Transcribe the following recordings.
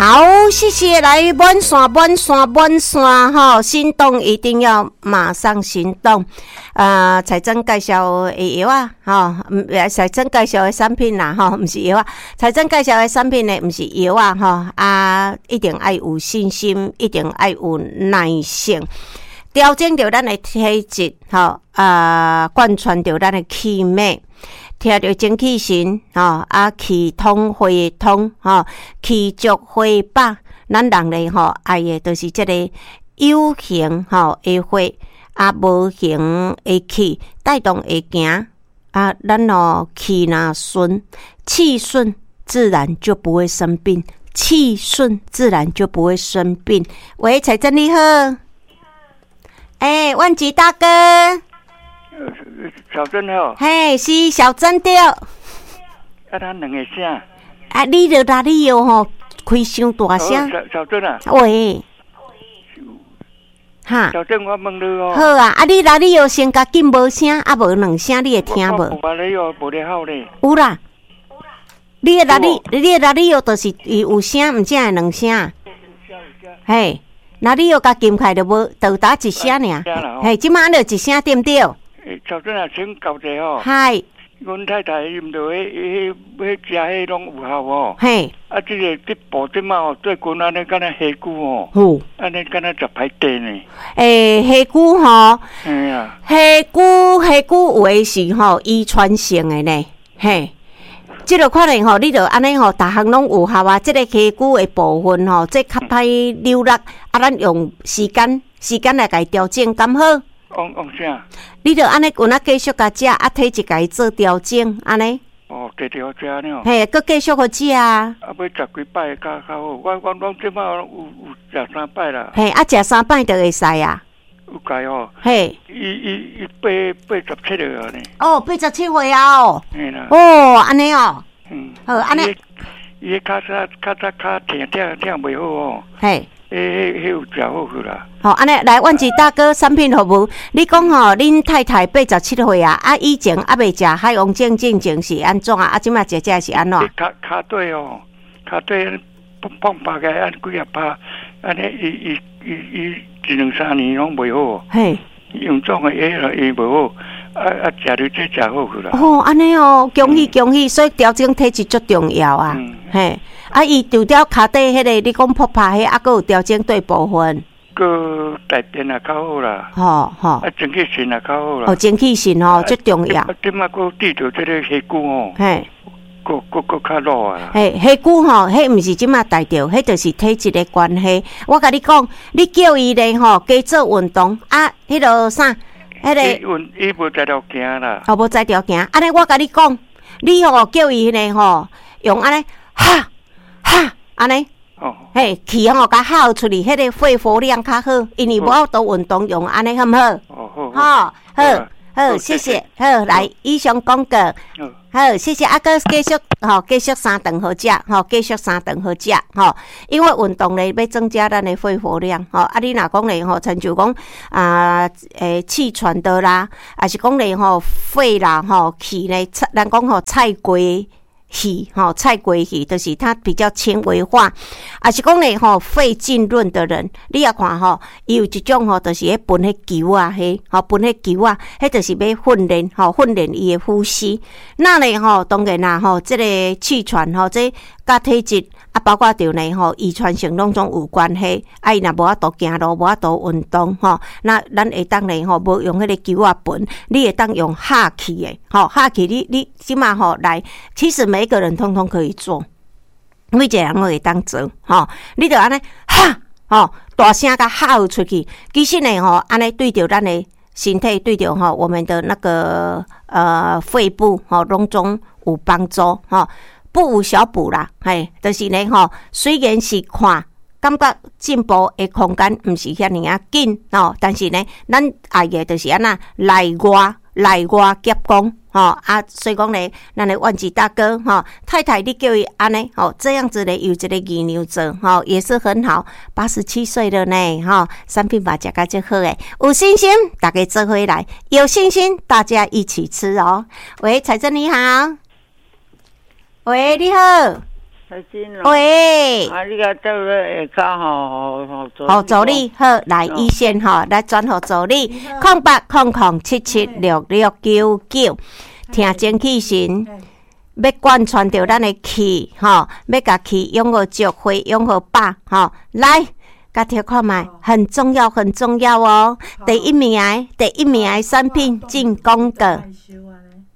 好，謝謝，來滿線滿線滿線吼，心動一定要馬上行動。彩珍介紹的藥啊，吼，彩珍介紹的產品啦，吼，毋是藥啊。彩珍介紹的產品呢，毋是藥啊，吼，啊，一定愛有信心，一定愛有耐性，調整著咱的體質，吼，啊，貫穿著咱的氣脈。聽著精氣神，吼，啊，氣通血通，吼，氣足血飽。咱人咧吼愛的就是這個有形吼的血，啊，無形的氣帶動會行。啊，咱哦氣若順，氣順自然就不會生病，氣順自然就不會生病。喂，彩珍你好，欸，萬吉大哥。小珍好。嘿，是小珍對。啊，咱兩個聲。啊，你著哪裡哦吼，開傷大聲。小珍啊。喂。哈。小珍，我問你哦。好啊，啊，你哪裡哦先共撳無聲，啊無兩聲，你會聽無？我哪裡哦，無咧吼咧。有啦。你的哪裡？你的哪裡哦，就是伊有聲，毋才會兩聲。嘿，哪裡哦，共撳開就無，就焦一聲爾。嘿，這擺就一聲對毋對？小珍啊，請教者吼。嗨。阮太太伊毋著彼彼彼食彼攏有效哦。嘿。啊，這個這部這擺吼，最近按呢敢若下久吼。按呢敢若食歹塊呢。欸，下久吼。嘿啊。下久下久有的是吼遺傳性的呢，嘿。這個可能吼，你著按呢吼，逐項攏有效啊。這個下久的部分吼，這較歹扭力，啊，咱用時間時間來共伊調整，敢好？用用啥？你著按呢，有影繼續共食，啊，體質共伊做調整，按呢？哦，繼續食呢。嘿，閣繼續予食啊。啊，欲食幾擺較較好？我我攏這擺有有食三擺啦。嘿，啊，食三擺就會使啊。有解哦。嘿。伊伊伊87歲啊呢。哦，87歲啊哦。嘿啦。哦，按呢哦。嗯。好，按呢。伊跤早較早跤疼疼疼袂好哦。嘿。彼彼彼有食好去啦。好，按呢來，萬吉大哥，產品服務，你講吼，恁太太87歲啊，啊，以前猶未食海王症進前是按怎啊？啊，這擺食食是按怎？跤跤底哦，跤底碰碰拍起來，按幾仔拍，按呢伊伊伊伊一兩三年攏袂好。嘿。用創的藥啦，伊袂好，啊啊，食著這食好去啦。哦，按呢哦，恭喜恭喜，所以調整體質足重要啊。嘿，啊，伊除了跤底彼個，你講噗拍彼，啊，閣有調整佗部分？閣大便也較好啦。吼吼。啊，精氣神也較好啦。哦，精氣神吼，足重要。啊，這擺閣治著這個下久吼。嘿。閣閣閣較老啊！嘿，下久吼，彼毋是這擺帶著，彼就是體質的關係。我共你講，你叫伊咧吼，加做運動啊，彼個啥，彼個。伊運伊無才調行啦。哦，無才調行。按呢，我共你講，你吼叫伊咧吼，用按呢，哈哈，按呢。哦。嘿，氣吼共吼出去，彼個肺活量較好，因為無法度運動，用按呢好毋好？哦，好。吼，好，好，謝謝，好，來，以上廣告。好，謝謝阿哥，繼續吼，繼續三頓好食，吼，繼續三頓好食，吼，因為運動咧欲增加咱的肺活量，吼，啊，你若講咧吼，親像講啊，欸，氣喘的啦，抑是講咧吼，肺啦吼，氣咧，咱講吼，菜過氣吼，菜過氣，就是它比較纖維化，抑是講咧吼，肺浸潤的人，你也看吼，伊有一種吼，就是彼噴彼球仔，彼吼噴彼球仔，彼就是欲訓練吼，訓練伊的呼吸。那咧吼，當然啦吼，這個氣喘吼，這佮體質啊，包括著呢吼，遺傳性攏總有關係。啊，伊若無法度行路，無法度運動吼，那咱會當咧吼，無用彼個球仔噴，你會當用哈氣的吼，哈氣你你這擺吼來，其實每個人通通可以做，每一個人攏會當做吼。你著按呢哈吼，大聲共吼出去。其實呢吼，按呢對著咱的身體，對著吼我們的那個肺部吼，攏總有幫助吼。不無小補啦，嘿，就是呢吼，雖然是看感覺進步的空間毋是遐爾仔緊吼，但是呢，咱愛的就是按怎內外內外夾攻吼啊，所以講呢，咱的萬吉大哥吼，太太你叫伊按呢吼，這樣子呢有一個姨娘做吼，也是很好。87歲了呢吼，產品嘛食甲足好的，有信心，大家做伙來，有信心，大家一起吃哦。喂，彩珍你好。喂，你好。喂，啊，你共做咧下跤吼，予予助理好來一線吼，來轉予助理0800776699，聽精氣神，欲貫穿著咱的氣吼，欲共氣養予足，血養予飽吼，來，共聽看覓，很重要，很重要哦！第一名，第一名的產品進廣告。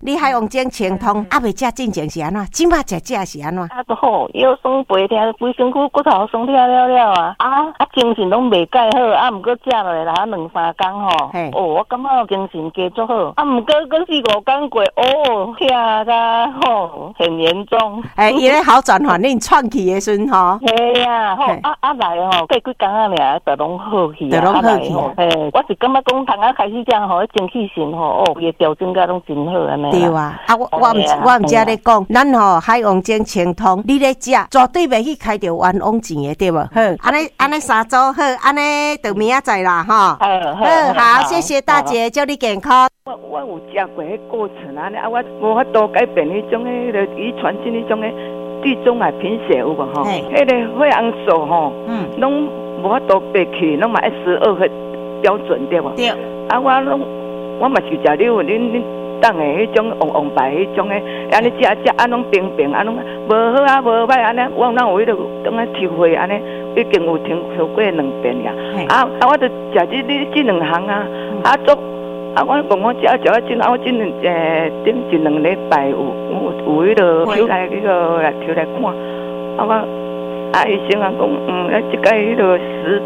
你海王精清通猶未食進前是按怎？這擺食食是按怎？啊，都好，腰酸背疼，規身軀骨頭酸疼了了啊！啊啊，精神攏袂蓋好，啊，毋過食落來兩三工吼，哦，我感覺精神加足好，啊，毋過閣四五工過，哦，疼甲吼很嚴重。欸，伊咧好轉反應喘氣的時陣吼。嘿啊，吼啊啊來吼，過幾工仔爾就攏好去啊，就攏好去啊。嘿，我是感覺講通仔開始食吼，精氣神吼，哦，伊的調整甲攏真好按呢。對啊，啊我我毋我毋才咧講，咱吼海王精清通，你咧食絕對袂去開著冤枉錢的，對無？好，按呢按呢三組好，按呢就明仔載啦，吼。好，好，謝謝大姐，祝你健康。我我有食過彼過程按呢，啊，我無法度改變彼種彼个遺傳性彼種的地中海貧血有無吼？彼个血紅素吼，攏無法度爬起，攏嘛愛12個標準對無？對。啊，我攏我嘛是食你有恁恁。當的彼種黃黃白彼種的，按呢食食啊攏平平啊攏無好啊無歹按呢，我哪有彼个當咧抽血按呢，已經有抽抽過兩遍呀。啊啊，我就食這你這兩項啊，啊足啊我講我食食啊真啊我這兩頂一兩禮拜有有有彼个抽來彼个來抽來看，啊我啊醫生啊講嗯，啊這擺彼个十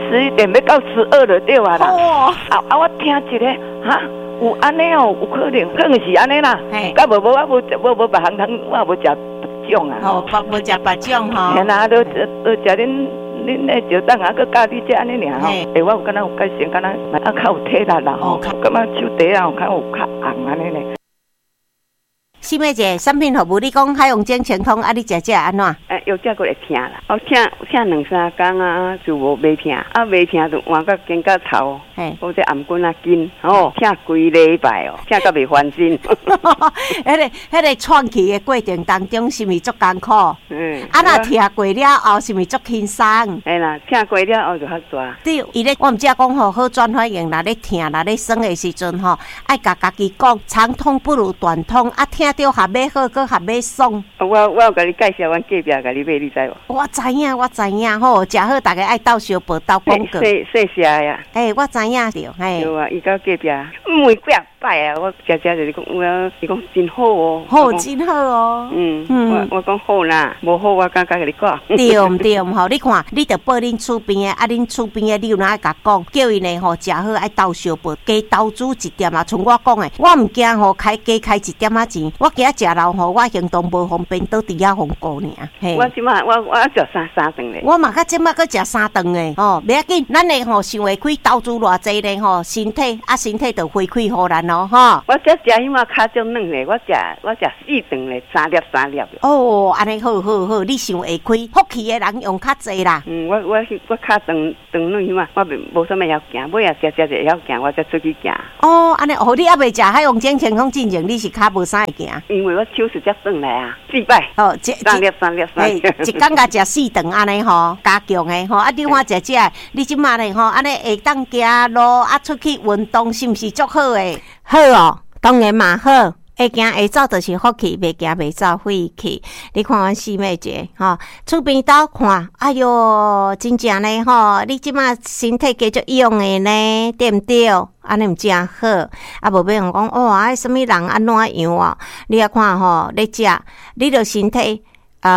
11點欲到12就對啊啦。啊啊我聽一个哈。有按呢哦，有可能，可能是按呢啦。佮無無我無無無別項通，我也無食別種啊。哦，無食別種吼。嘿啦，都都食恁恁的石凳啊，閣教你這按呢爾吼。欸，我有感覺有改善，敢若啊較有體力啦吼，感覺手蹄啊有較有較紅按呢呢。四妹姐，產品服務你講海王精清通啊，你食食按怎？欸，藥食過會疼啦，哦，疼疼兩三工啊，就無袂疼，啊袂疼就換到肩胛頭，或者頷頸仔筋，吼，疼規禮拜哦，疼到袂翻身。彼个喘氣的過程當中，是毋是足艱苦？嗯。啊，若疼過了後，是毋是足輕鬆？嘿啦，疼過了後就較大。對，伊咧，我毋才講吼，好轉反應，若咧疼，若咧酸的時陣吼，愛共家己講，長痛不如短痛，啊，疼著較欲好，閣較欲爽。我我有共你介紹，阮隔壁共你買，你知無？我知影，我知影，吼，食好，逐家愛鬥相報鬥廣告。細細細的啊。欸，我知影著，嘿。對啊，伊到隔壁，問幾仔擺啊，我食食就是講，我伊講真好哦。好，真好哦。嗯嗯，我講好啦，無好我敢共你講。對毋對吼？你看，你著報恁厝邊的，啊，恁厝邊的，你有哪愛共講？叫𪜶呢吼，食好愛鬥相報，加投資一點啊。像我講的，我毋驚吼開加開一點仔錢，我驚食老吼，我行動無方便，倒佇遐予顧爾。嘿。我這擺我我食三三頓咧。我嘛較這擺閣食三頓的吼，袂要緊，咱的吼想會開投資偌濟咧吼，身體啊身體就回饋予咱咯吼。我這食彼馬較少軟咧，我食我食四頓咧，三粒三粒。哦，按呢好好好，你想會開，福氣的人用較濟啦。嗯，我我我跤長長軟彼馬，我袂無啥物曉行，尾仔食食就會曉行，我才出去行。哦，按呢哦，你猶未食海王精清通進前，你是跤無啥會行。因為我手術才轉來啊，四擺。哦，三粒三粒三粒。一工共食四頓按呢吼，加強的吼。啊，你看食食，你這馬咧吼，按呢會當行路啊，出去運動，是毋是足好的？好哦，當然嘛好。會行會走就是福氣，袂行袂走廢氣。你看阮四妹姐吼，厝邊兜看，哎喲，真正呢吼，你這馬身體繼續勇的呢，對毋對？按呢毋真好。啊，無欲用講哦，啊，啥物人按怎樣啊？你仔看吼，咧食，你著身體。若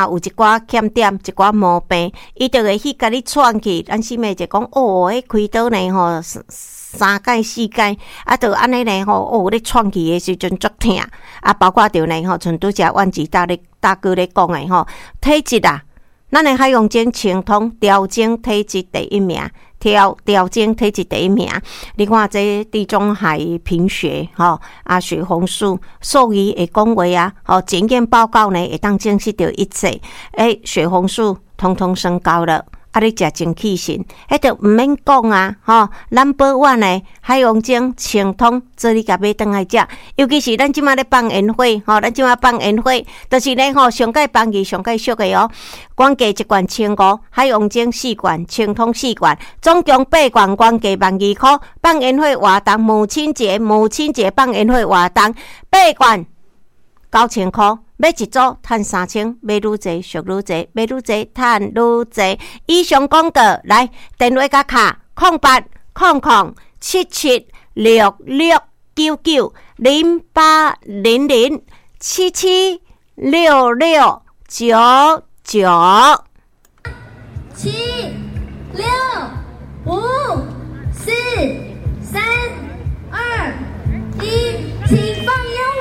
有一寡欠點，一寡毛病，伊就會去共你喘氣。咱四妹就講，哦，彼開刀呢吼，三擺四擺，啊，就按呢呢吼，哦，咧喘氣的時陣足疼。啊，包括著呢吼，像拄才阮姊大咧大哥咧講的吼，體質啊，咱的海王精清通調整體質第一名。調調整體質第一名，你看這地中海貧血吼，啊血紅素獸醫會講話啊，吼檢驗報告呢會當證實著一切，欸，血紅素統統升高了。啊，你食精氣神，彼就毋免講啊，吼！咱保穩的海王精清湯，做你共買轉來食。尤其是咱這馬咧放煙火，吼，咱這馬放煙火，就是咧吼，上蓋便宜、上蓋俗的哦。原價一罐1500，海王精四罐，清湯四罐，總共八罐，原價12,000箍。放煙火活動，母親節，母親節放煙火活動，八罐9000箍。買一組趁3000，買愈濟俗愈濟，買愈濟趁愈濟。以上廣告來電話佮卡08007766990800776699。七六五四三二一，請放煙火。